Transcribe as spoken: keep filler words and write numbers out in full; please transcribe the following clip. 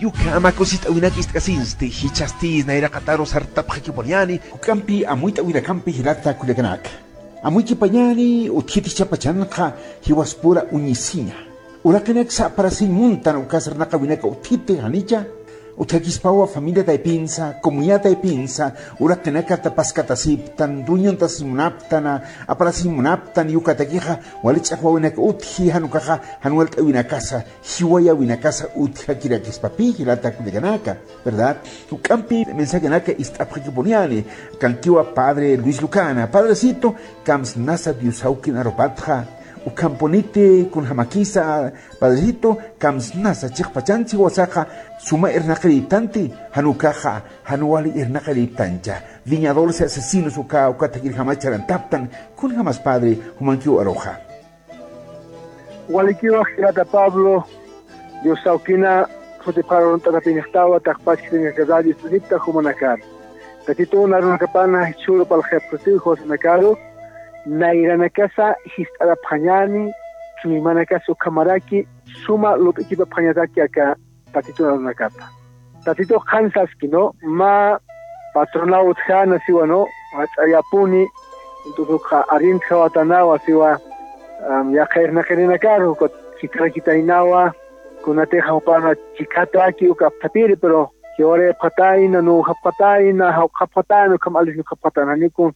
Yukhama kusist'äwinak ist'kasinsti, jichhasti nayraqataru sartapxakipuniyäni. Juk'ampi amuyt'äwinakampi jilata kullakanaka. Amuykipañäni utjit jichhapachanxa jiwaspura uñisiña. Uraqinaksa aparasiñ muntan uka sarnaqäwinaka utjiti janicha. Utjakispawa familia taypinsa, comunidad taypinsa, uraqinakata paskatasiptan, dueñontasiñ munaptana, aparasiñ munaptan, ukatakixa wali ch'aqwäwinaka utji, jan ukaxa jan walt'äwinakasa jiwayäwinakasa utjakirakispapi jilata kullakanaka, ¿verdad? Juk'ampi mensajenaka ist'apxakipuniyäni, kankiwa padre Luis Lucana. Padrecito, kamsnasa Diosawkin arupatxa, ukhampuniti kunjamakisa, padrecito, kamsnasa chiqpachansi jiwasaxa suma irnaqiriptanti, jan ukaxa jan wali irnaqiriptancha. Viñadores y asesinos uka, ukatakirjama charantaptan, kunjamas padre, jumankiw aruxa. Walikiwa jilata Pablo, Diosawkina jutipxaru urunt'atapinixtawa, taqpach jitinakasar Diosita jumanakar. Tatitun arunakapana jichhüru parlxapxitiw jiwasanakaru, nayranakasa jist'arapxañäni, chuymanakasa ukhamaraki, suma lup'ikipapxañataki aka Tatitun arunakapa. Tatitux qhan saski, ¿no? Mä patronaw utjäna siwa, ¿no? Jach'ayapuni, entonces ukxa arintjawatanawa siwa, am, yaqha irnaqirinakaru, ukat jikxarakitaynawa, kunatixa jupana chikhataki uka apthapiri, pero jiwarayapxatayna, nuwjapxatayna, jawqhapxatayna, ukham alisnipxapxatayna, janiw kun